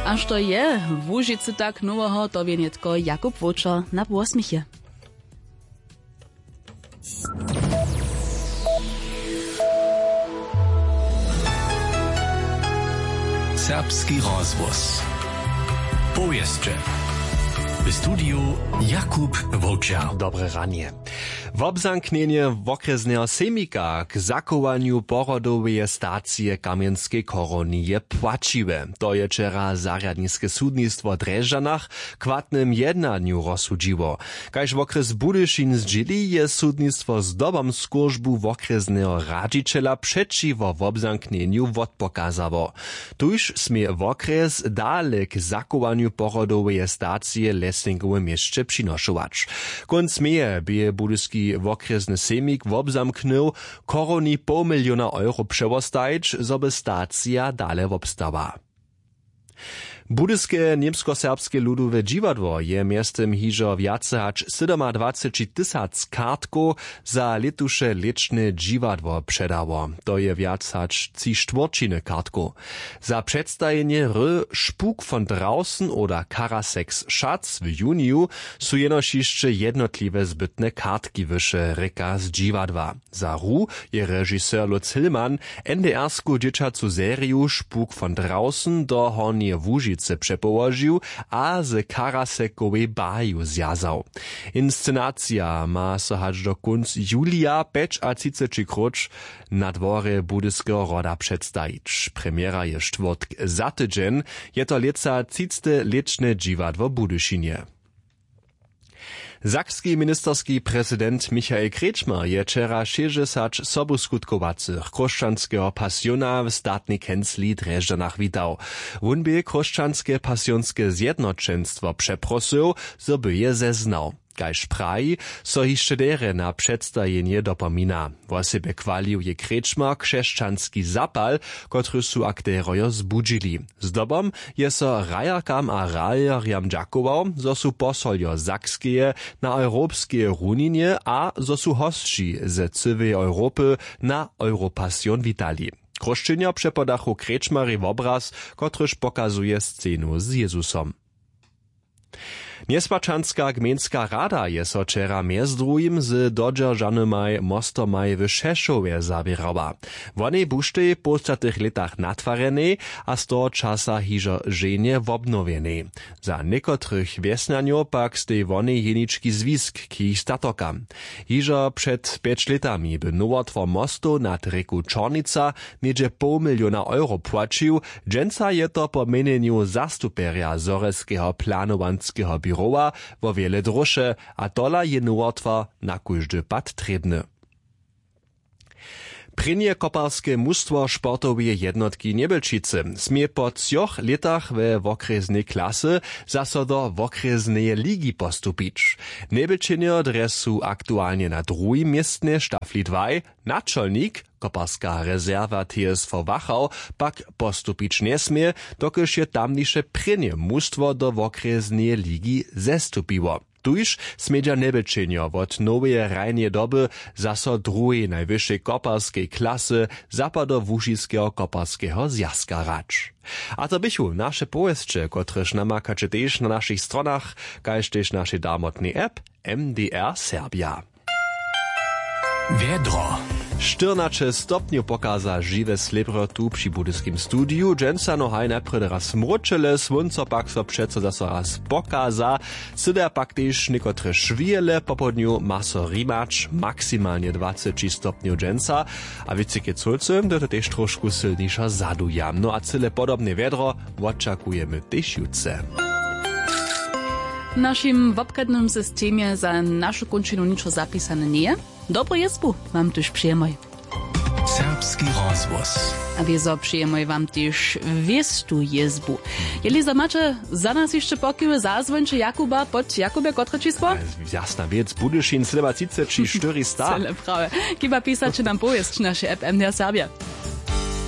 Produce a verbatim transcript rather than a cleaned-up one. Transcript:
A što je w Łužicy tak noweho, to wě nětko Jakub Wowčer na Wosměchje. Serbski rozhłos. Powěsće. W studiju Jakub Wowčer. Dobre ranje. Wobzamknjenje wokrjesneho sejmika k zachowanju porodoweje stacije w Kamjenskej Chorowni je płaćiwe. To je wčera zarjadniske sudnistwo w Drježdźanach w chwatnym jednanju rozsudźiło. Kaž wokrjes Budyšin zdźěli, je sudnistwo zdobom skóržbu wokrjesneho radźićela přećiwo wobzamknjenju wotpokazało. Tuž smě wokrjes dale k zachowanju porodoweje stacije w Lessingowym měsće přinošować. Kónc meje bě budyski wokrjesny sejmik wobzamknył, w Chorowni poł miliona euro přewostajić, zo by stacija dale wobstała. Budyske Němskoserbske ludowe dźiwadło je mjeztym hižo wjace hač sydomadwaceći tysac kartkow za lětuše lěćne dźiwadło předało. To je wjac hač tři štwórćiny kartkow. Za předstajenje hry Spuk von draußen oder Karaseks Schatz w juniju su jenož hišće jednotliwe zbytne kartki wyše, rěka z dźiwadła. Za hru je režiser Lutz Hillmann N D R-sku dźěćacu seriju Spuk von draußen do Hornjeje Łužicy přepołožił a z Karasekowej barju zwjazał. Inscenacija ma so hač do kónc julija pjećatřiceći króć na dworje Budyskeho hroda předstajić. Premjera je štwórtk za tydźeń, je to lětsa třicte lěćne dźiwadło w Budyšinje. Sakski ministerski prezident Michael Kretschmer je wčera šěsćdźesać sobuskutkowaceho chróšćanskeho pasiona w statnej kencli w Drježdźanach witał. Wón bě chróšćanske pasionske zjednoćenstwo přeprosył, zo by je zeznał. Kaž praji, so hišće derje na předstajenje dopomina. Wosebje chwalił je Kretschmer křesćanski zapal, kotryž su akterojo zbudźili. Zdobom je so hrajerkam a hrajerjam dźakował, zo su posoljo Sakskeje na europskeje runinje a zo su hosći ze cyłeje Europy na Europasion witali. Chróšćenjo přepodachu Kretschmerej wobraz, kotryž pokazuje scenu z Jězusom. Njespačanska gmejnska rada je so wčera mjez druhim z dodźeržanymaj mostomaj w Šešowje zawěrała. Wonej buštej w połstatych lětach natwarjenej a z toho časa hižo ženje wobnowjenej. Za někotrych wjesnjanjow pak stej wonej jenički zwisk k jich statokam. Hižo před pjeć lětami by nowotwar mostow nad rěku Čornica něhdźe poł miliona euro płaćił. Dźensa je to po měnjenju zastupjerja zhorjelskeho planowanskeho běrowa wo wjele dróše, a tola je nowotwar na kóždy pad trěbny. Prěnje koparske mustwo sportoweje jednotki Njebelčicy smě po třoch lětach we wokrjesnej klasy zaso do wokrjesneje ligi postupić. Njebelčenjo drje su aktualnje na druhim městnje w štafli dwaj. Načolnik, koparska rezerwa T S V Wachau, pak postupić njesmě, dokelž je tamniše prěnje mustwo do wokrjesneje ligi zestupiło. Tuž smědźa Njebelčenjo wot noweje hrajneje doby zaso w druhej najwyšej koparskej klasy Zapadołužiskeho koparskeho zwjazka hrać. A to běchu naše powěsće, kotrež namakaće tež na našich stronach, kaž tež našej darmotnej app M D R Serbia. Wjedro. Štyrnaće stopnjow pokaza žiwe slěpro tu při budyskim studiju. Dźensa no haj najprjedy raz mróčele, słónco pak so přeco zaso raz pokaza. Syda pak tež někotre šwěle, popołdnju ma so rimać maksimalnje dwaceći stopnjow dźensa. A wětřike cólcy, to je to tež trošku sylniša zaduja. No a cyle podobne wjedro wočakujemy tež jutře. W našim wobchadnym systemje za našu kónčinu ničo zapisane njeje. Dobru jězbu wam tuž přijemoj. Serbski rozhłos. A wězo přijemoj wam tež wěstu jězbu. Jeli za maće za nas hišće pokiwy, zazwońće Jakuba pod Jakubje, kotre čisło? Jasna wěc, Budyšin sydomatřiceći štyristo. Cyle prawje. Kiba pisaće nam powěsć naše F M D R Serbia.